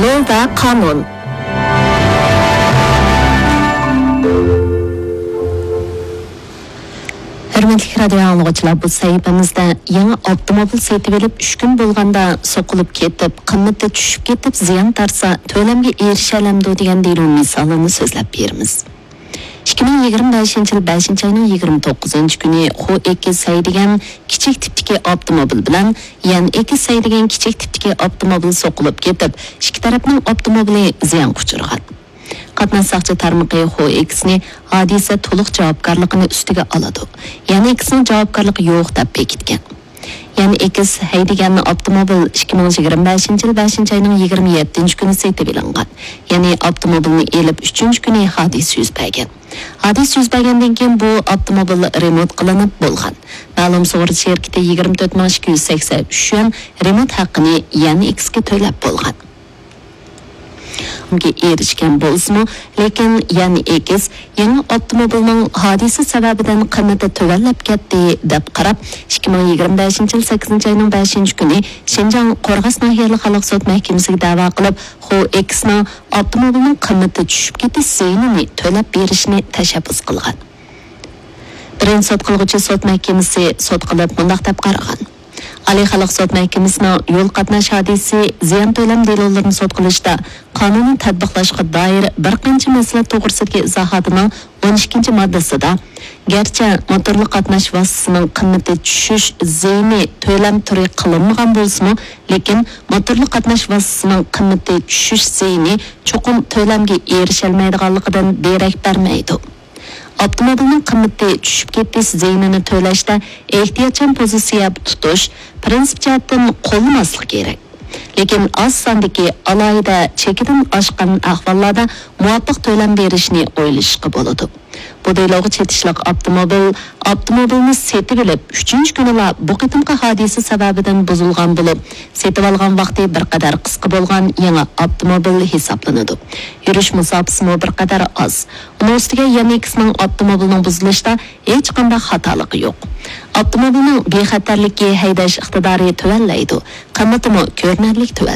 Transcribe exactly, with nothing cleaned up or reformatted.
لو ۋە قانۇن. ھۆرمەتلىك رادىيو ئاڭلىغۇچىلار، بۇ سەھىپىمىزدە يېڭى ئاپتوموبىل سېتىۋېلىپ ئۈچ كۈن بولغاندا سوقۇلۇپ كېتىپ، قىممىتى چۈشۈپ كېتىپ زىيان تارتسا، تۆلەمگە ئېرىشەلەمدۇ دېگەن دېلو مىسالىنى سۆزلەپ بېرىمىز. ئىككى مىڭ يىگىرمە بەشىنچى يىل بەشىنچى ئاينىڭ يىگىرمە توققۇزىنچى كۈنى خو ئېكس ھەيدىگەن كىچىك تىپتىكى ئاپتوموبىل بىلەن يەن ئېكس ھەيدىگەن كىچىك تىپتىكى ئاپتوموبىل سوقۇلۇپ كېتىپ، ئىككى تەرەپنىڭ ئاپتوموبىلى زىيانغا ئۇچرىغان. قاتناش ساقچى تارمىقى خو ئېكسنى ھادىسە تولۇق جاۋابكارلىقىنى ئۈستىگە ئالىدۇ، يەن ئېكسنىڭ جاۋابكارلىقى يوق دەپ بېكىتكەن. يەنى ئېكس ھەيدىگەن ئاپتوموبىل ئىككى مىڭ يىگىرمە بەشىنچى يىل بەشىنچى ئاينىڭ يىگىرمە يەتتىنچى كۈنى سېتىۋېلىنغان. يەنى ئاپتوموبىلنى ئېلىپ ئۈچىنچى كۈنى ھادىسە يۈز بەرگەن. ھادىسە يۈز بەرگەندىن كېيىن بۇ ئاپتوموبىل رېمونت قىلىنىپ بولغان. مەلۇم سۇغۇرتا شىركىتى يىگىرمە تۆت مىڭ ئىككى يۈز سەكسەن ئۈچ يۈەن رېمونت ھەققىنى يەنى ئېكسكە تۆلەپ بولغان. ئېرىشكەن بولسىمۇ، لېكىن يەنى ئېكس يېڭى ئاپتوموبىلنىڭ ھادىسە سەۋەبىدىن قىممىتى تۆۋەنلەپ كەتتى، دەپ قاراپ، ئىككى مىڭ يىگىرمە بەشىنچى يىل سەككىزىنچى ئاينىڭ بەشىنچى كۈنى شىنجاڭ قورغاس ناھىيەلىك خەلق سوت مەھكىمىسىگە دەۋا قىلىپ، خو ئېكسنىڭ ئاپتوموبىلنىڭ قىممىتى چۈشۈپ كېتىش زىيىنىنى تۆلەپ بېرىشىنى تەشەببۇس قىلغان. بىرىنچى سوت قىلغۇچى سوت مەھكىمىسى سوت قىلىپ مۇنداق دەپ قارىغان: ئالىي خەلق سوت مەھكىمىسىنىڭ يول قاتناش ھادىسىسى زىيان تۆلەم دېلولىرىنى سوت قىلىشتا قانۇننى تەتبىقلاشقا دائىر بىر قانچە مەسىلە توغرىسىدىكى ئىزاھاتىنىڭ ئون ئىككىنچى ماددىسىدا، گەرچە موتورلۇق قاتناش ۋاسىتىسىنىڭ قىممىتى چۈشۈش زىيىنى تۆلەم تۈرى قىلىنمىغان بولسىمۇ، لېكىن موتورلۇق قاتناش ۋاسىتىسىنىڭ قىممىتى چۈشۈش زىيىنى چوقۇم تۆلەمگە ئېرىشەلمەيدىغانلىقىدىن دېرەك بەرمەيدۇ. ئاپتوموبىلنىڭ قىممىتى چۈشۈپ كېتىش زىيىنىنى تۆلەشتە ئېھتىياتچان پوزىتسىيە تۇتۇش پىرىنسىپ جەھەتتىن قوللىماسلىق كېرەك. لېكىن ئاز ساندىكى ئالاھىدە چېكىدىن ئاشقان ئەھۋاللاردا مۇۋاپىق تۆلەم بېرىشنى ئويلىشىشقا بولىدۇ. بۇ دېلوغا چېتىشلىق ئاپتوموبىل، ئاپتوموبىلنى سېتىۋېلىپ ئۈچىنچى كۈنىلا بۇ قېتىمقى ھادىسە سەۋەبىدىن بۇزۇلغان بولۇپ، سېتىۋالغان ۋاقتى بىر قەدەر قىسقا بولغان يېڭى ئاپتوموبىل ھېسابلىنىدۇ. يۈرۈش مۇساپىسىمۇ بىر قەدەر ئاز. ئۇنىڭ ئۈستىگە يەنى ئېكسنىڭ ئاپتوموبىلنىڭ بۇزۇلۇشىدا ھېچقانداق خاتالىقى يوق. ئاپتوموبىلنىڭ بىخەتەرلىكى، ھەيدەش ئىقتىدارى تۆۋەنلەيدۇ، قىممىتىمۇ كۆرۈنەرلىك تۆۋەنلەيدۇ.